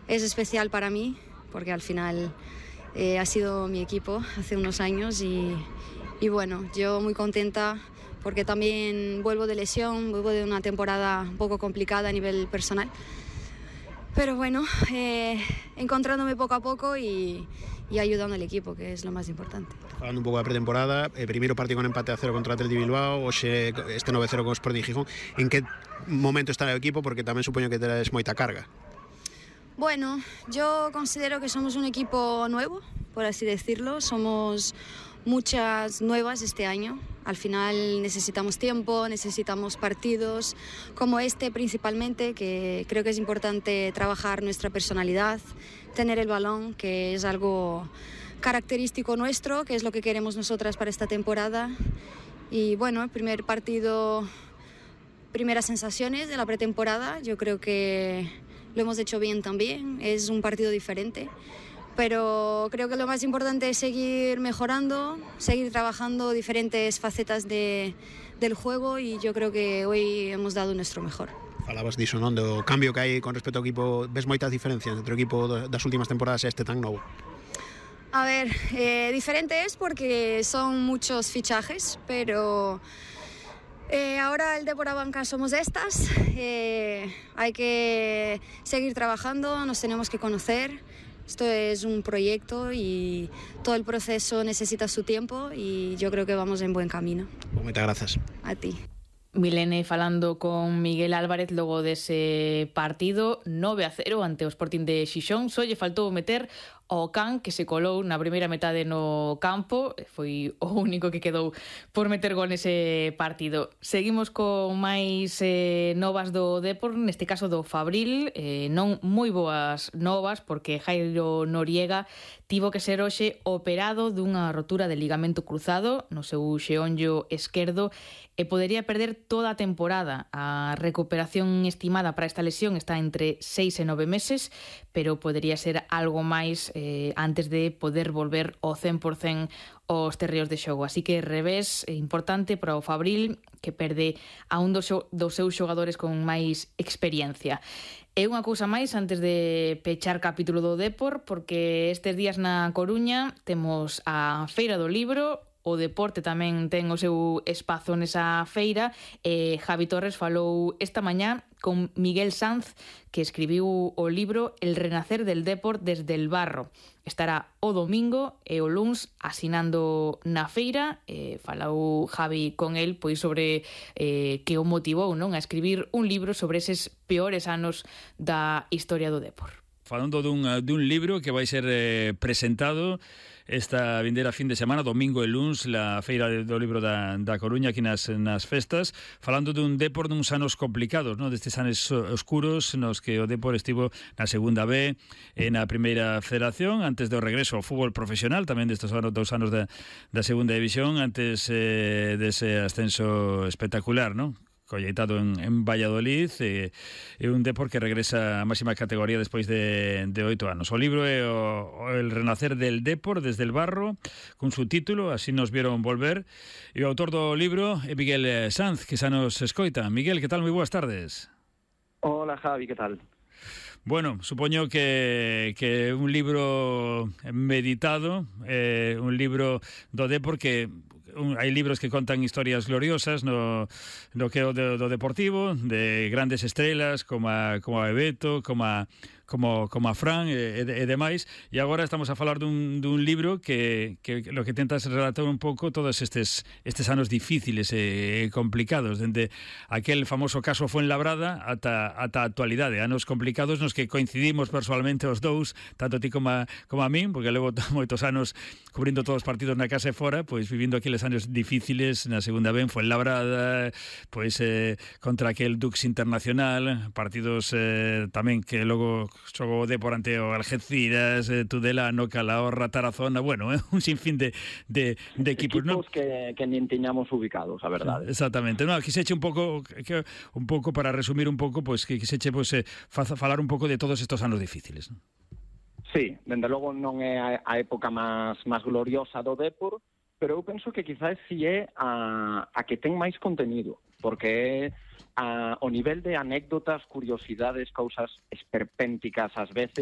es especial para mí, porque al final ha sido mi equipo hace unos años y bueno, yo muy contenta porque también vuelvo de lesión, vuelvo de una temporada un poco complicada a nivel personal. Pero bueno, encontrándome poco a poco y ayudando al equipo, que es lo más importante. Falando un pouco da pretemporada, primeiro partido con empate a 0 contra o Athletic de Bilbao, hoxe este 9-0 con o Sporting Gijón. En que momento está o equipo? Porque tamén supoño que terás moita carga. Bueno, yo considero que somos un equipo nuevo, por así decirlo. Somos muchas nuevas este año. Al final necesitamos tiempo, necesitamos partidos como este principalmente, que creo que es importante trabajar nuestra personalidad, tener el balón, que es algo característico nuestro, que es lo que queremos nosotras para esta temporada. Y bueno, el primer partido, primeras sensaciones de la pretemporada, yo creo que lo hemos hecho bien también, es un partido diferente. Pero creo que lo más importante es seguir mejorando, seguir trabajando diferentes facetas del juego y yo creo que hoy hemos dado nuestro mejor. Falabas diso, non? Do cambio que hai con respecto ao equipo. Ves moitas diferencias entre o equipo das últimas temporadas e este tan novo? A ver, diferente es porque son muchos fichajes, pero ahora el Depor Abanca somos estas, hay que seguir trabajando, nos tenemos que conocer. Esto es un proyecto y todo el proceso necesita su tiempo y yo creo que vamos en buen camino. Moitas grazas. A ti. Milene falando con Miguel Álvarez logo dese partido 9-0 ante o Sporting de Xixón. Só lle faltou meter ao Can, que se colou na primeira metade no campo, foi o único que quedou por meter gol nese partido. Seguimos con máis novas do Depor, neste caso do Fabril, non moi boas novas porque Jairo Noriega tivo que ser hoxe operado dunha rotura de ligamento cruzado no seu xeonllo esquerdo e podería perder toda a temporada. A recuperación estimada para esta lesión está entre 6 e 9 meses, pero podería ser algo máis antes de poder volver ao 100% aos terreos de xogo. Así que revés importante para o Fabril, que perde a un dos seus xogadores con máis experiencia. E unha cousa máis antes de pechar capítulo do Depor, porque estes días na Coruña temos a Feira do Libro. O deporte tamén ten o seu espazo nesa feira e Javi Torres falou esta mañá con Miguel Sanz, que escribiu o libro El renacer del Depor desde el barro. Estará o domingo e o luns asinando na feira. Falou Javi con el pois sobre que o motivou, non, a escribir un libro sobre eses peores anos da historia do Depor. Falando dun libro que vai ser presentado esta vindeira fin de semana, domingo e luns, la Feira do Libro da Coruña aquí nas festas, falando dun Depor duns anos complicados, non? Destes anos oscuros nos que o Depor estivo na segunda B e na primeira federación, antes do regreso ao fútbol profesional, tamén destes dos anos da segunda división, antes dese ascenso espectacular, non? Colleitado en Valladolid, e un Depor que regresa a máxima categoría despois de 8 anos. O libro é El renacer del Depor desde el barro, con su título, Así nos vieron volver, e o autor do libro é Miguel Sanz, que xa nos escoita. Miguel, que tal? Moi boas tardes. Hola Javi, que tal? Bueno, supoño que un libro meditado, un libro do Depor que hai libros que contan historias gloriosas no que é o do deportivo, de grandes estrelas como a Bebeto, como a Fran e demais, e agora estamos a falar dun libro que lo que tentas relatar un pouco todos estes anos difíciles e complicados, dende aquel famoso caso Fuenlabrada ata a actualidade, anos complicados nos que coincidimos persoalmente os dous, tanto ti como a min, porque levo moitos anos cubrindo todos os partidos na casa e fora, pois vivindo aqueles anos difíciles na segunda B en Fuenlabrada, pois contra aquel Dux Internacional, partidos tamén que logo xogou o Depor ante o Algeciras, Tudelano, Calahorra, Tarazona, bueno, un sinfín de equipos, ¿no? que nin tiñamos ubicados, a verdade. Exactamente. No, quiseche un pouco para resumir un pouco, pois que quiseche falar un pouco de todos estos anos difíciles, ¿no? Sí, dende logo non é a época máis gloriosa do Depor, pero eu penso que quizás si é a que ten máis contenido, porque o nivel de anécdotas, curiosidades, cousas esperpénticas ás veces,